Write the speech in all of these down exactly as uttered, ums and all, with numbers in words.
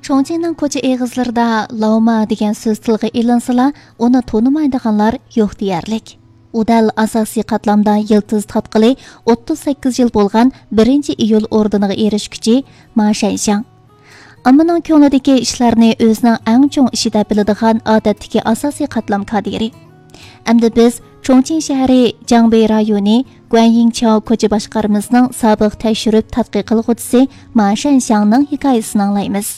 چۇڭچىڭنىڭ كوچا ئېغىزلىرىدا لاۋما دېگەن سۆز تىلغا ئېلىنسىلا، ئۇنى تونۇمايدىغانلار يوق دېيەرلىك. ئۇ دەل ئاساسىي قاتلامدا يىلتىز تارتقىلى ئوتتۇز سەككىز يىل بولغان بىرىنچى ئىيۇل ئوردېنىغا ئېرىشكۈچى ما شەنشياڭ. ئاممىنىڭ كۆڭلىدىكى ئىشلارنى ئۆزىنىڭ ئەڭ چوڭ ئىشى دەپ بىلىدىغان ئادەتتىكى ئاساسىي قاتلام كادىرى. ئەمدى بىز چۇڭچىڭ شەھىرى جاڭبېي رايونى گۇەنيىڭچاۋ كوچا باشقارمىسىنىڭ سابىق تەكشۈرۈپ تەتقىق قىلغۇچىسى ما شەنشياڭنىڭ ھېكايىسىنى ئاڭلايمىز.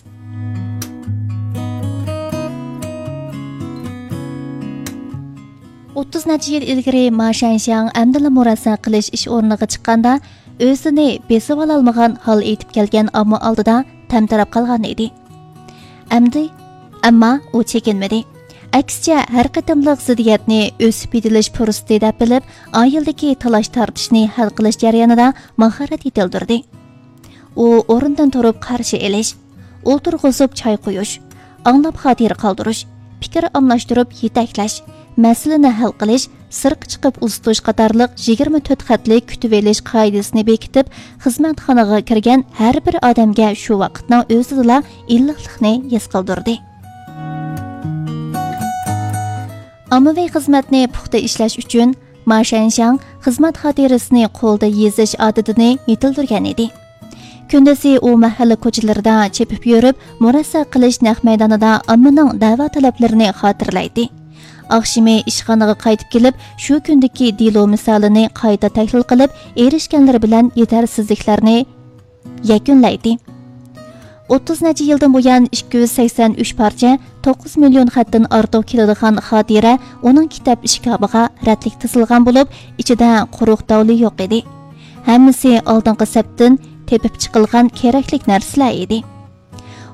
ئوتتۇز نەچچە يىل ئىلگىرى ما شەنشياڭ ئەمدىلا مۇرەسسە قىلىش ئىش ئورنىغا چىققاندا، ئۆزىنى بېسىۋالالمىغان ھال ئېيتىپ كەلگەن ئامما ئالدىدا تەمتىرەپ قالغان ئىدى. ئەمدى، ئەمما ئۇ چېكىنمىدى. ئەكسىچە، ھەر قېتىملىق زىددىيەتنى ئۆسۈپ يېتىلىش پۇرسىتى دەپ بىلىپ، ئائىلىدىكى تالاش-تارتىشنى ھەل قىلىش جەريانىدا ماھارەت يېتىلدۈردى. ئۇ ئورنىدىن تۇرۇپ قارشى ئېلىش، ئولتۇرغۇزۇپ چاي قۇيۇش، ئاڭلاپ خاتىرە قالدۇرۇش، پىكىر ئالماشتۇرۇپ يېتەكلەش، مەسىلىنى ھەل قىلىش، سىرتقا چىقىپ ئۇزىتىش قاتارلىق يىگىرمە تۆت خەتلىك كۈتۈۋېلىش قائىدىسىنى بېكىتىپ، خىزمەتخانىغا كىرگەن ھەر بىر ئادەمگە شۇ ۋاقىتنىڭ ئۆزىدىلا ئىللىقلىقنى ھېس قىلدۇردى. ئاممىۋى خىزمەتنى پۇختا ئىشلەش ئۈچۈن، ما شەنشياڭ خىزمەت خاتىرىسىنى قولدا يېزىش ئادىتىنى يېتىلدۈرگەن ئىدى. كۈندۈزى ئۇ مەھەللە كوچىلىرىدا چېپىپ يۈرۈپ، مۇرەسسە قىلىش نەق مەيدانىدا ئاممىنىڭ دەۋا تەلەپلىرىنى خاتىرىلەيتتى. ئاخشىمى ئىشخانىغا قايتىپ كېلىپ، شۇ كۈندىكى دېلو مىسالىنى قايتا تەھلىل قىلىپ، ئېرىشكەنلىرى بىلەن يېتەرسىزلىكلەرنى يەكۈنلەيتتى. ئوتتۇز نەچچە يىلدىن بۇيان ئىككى يۈز سەكسەن ئۈچ پارچە، توققۇز مىليون خەتتىن ئارتۇق كېلىدىغان خاتىرە ئۇنىڭ كىتاب ئىشكاپىغا رەتلىك تىزىلغان بولۇپ، ئىچىدە قۇرۇق داۋلى يوق ئىدى. ھەممىسى ئالدىنقى سەپتىن تېپىپ چىقىلغان كېرەكلىك نەرسىلەر ئىدى.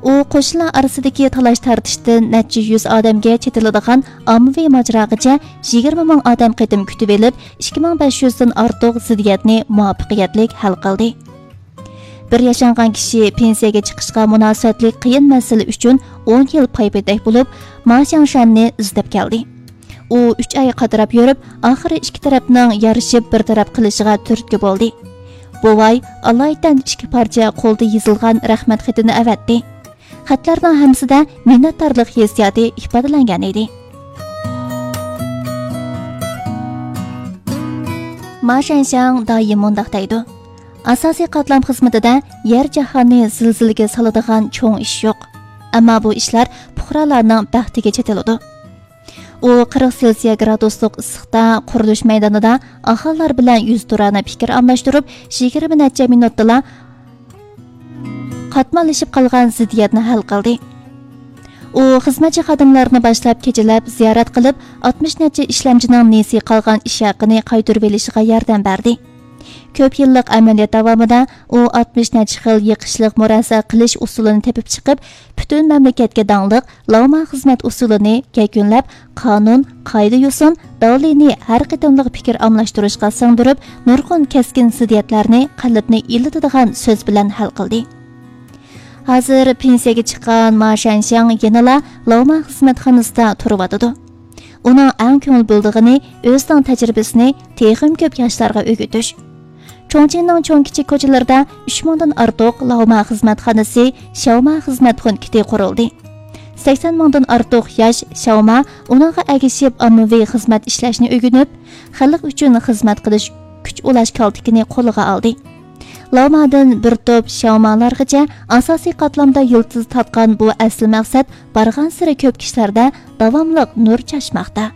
ئۇ قوشنىلار ئارىسىدىكى تالاش-تارتىشتىن نەچچە يۈز ئادەمگە چېتىلىدىغان ئاممىۋى ماجىراغىچە يىگىرمە مىڭ ئادەم قېتىم كۈتۈۋېلىپ، ئىككى مىڭ بەش يۈزدىن ئارتۇق زىددىيەتنى مۇۋەپپەقىيەتلىك ھەل قىلدى. بىر ياشانغان كىشى پېنسىيەگە چىقىشقا مۇناسىۋەتلىك قىيىن مەسىلە ئۈچۈن ئون يىل پايپېتەك بولۇپ، ما شياڭشەننى ئىزدەپ كەلدى. ئۇ ئۈچ ئاي قاتراپ يۈرۈپ، ئاخىرى ئىككى تەرەپنىڭ يارىشىپ بىر تەرەپ قىلىشىغا تۈرتكە بولدى. بوۋاي ئالايىتەن ئىككى پارچە قولدا يېزىلغان رەھمەت خېتىنى ئەۋەتتى. خەتلەرنىڭ ھەممىسىدە مىننەتدارلىق ھېسسىياتى ئىپادىلەنگەن ئىدى. ما شەنشياڭ دائىم مۇنداق دەيدۇ: «ئاساسىي قاتلام خىزمىتىدە يەر جاھاننى زىلزىلىگە سالىدىغان چوڭ ئىش يوق. ئەمما بۇ ئىشلار پۇقرالارنىڭ بەختىگە چېتىلىدۇ.» ئۇ قىرىق سېلسىيە گرادۇسلۇق ئىسسىقتا قۇرۇلۇش مەيدانىدا ئاھالىلەر بىلەن يۈزتۇرانە پىكىر ئالماشتۇرۇپ، يىگىرمە نەچچە مىنۇتتىلا قاتماللىشىپ قالغان زىددىيەتنى ھەل قىلدى. ئۇ خىزمەتچى خادىملارنى باشلاپ كېچىلەپ زىيارەت قىلىپ، ئاتمىش نەچچە ئىشلەمچىنىڭ نېسى قالغان ئىش ھەققىنى قايتۇرۇۋېلىشىغا ياردەم بەردى. كۆپ يىللىق ئەمەلىيەت داۋامىدا ئۇ ئاتمىش نەچچە خىل يېقىشلىق مۇرەسسە قىلىش ئۇسۇلىنى تېپىپ چىقىپ، پۈتۈن مەملىكەتكە داڭلىق لاۋما خىزمەت ئۇسۇلىنى يەكۈنلەپ، قانۇن، قائىدە-يوسۇن، داۋلىنى ھەر قېتىملىق پىكىر ئالماشتۇرۇشقا سىڭدۈرۈپ، نۇرغۇن كەسكىن زىددىيەتلەرنى قەلبنى ئىللىتىدىغان سۆز بىلەن ھەل قىلدى. ھازىر پېنسىيەگە چىققان ما شەنشياڭ يەنىلا لاۋما خىزمەتخانىسىدا تۇرۇۋاتىدۇ. ئۇنىڭ ئەڭ كۆڭۈل بۆلىدىغىنى ئۆزىنىڭ تەجرىبىسىنى تېخىمۇ كۆپ ياشلارغا ئۆگىتىش. چۇڭچىڭنىڭ چوڭ-كىچىك كوچىلىرىدا ئۈچ مىڭدىن ئارتۇق لاۋما خىزمەتخانىسى، شياۋما خىزمەت پونكىتى قۇرۇلدى. سەكسەن مىڭدىن ئارتۇق ياش شياۋما ئۇنىڭغا ئەگىشىپ ئاممىۋى خىزمەت ئىشلەشنى ئۆگىنىپ، خەلق ئۈچۈن خىزمەت قىلىش كۈچ ئۇلاش كالتىكىنى قولىغا ئالدى. لاۋمادىن بىر توپ شياۋمالارغىچە ئاساسىي قاتلامدا يىلتىز تارتقان بۇ ئەسلى مەقسەت بارغانسېرى كۆپ كىشىلەردە داۋاملىق نۇر چاچماقتا.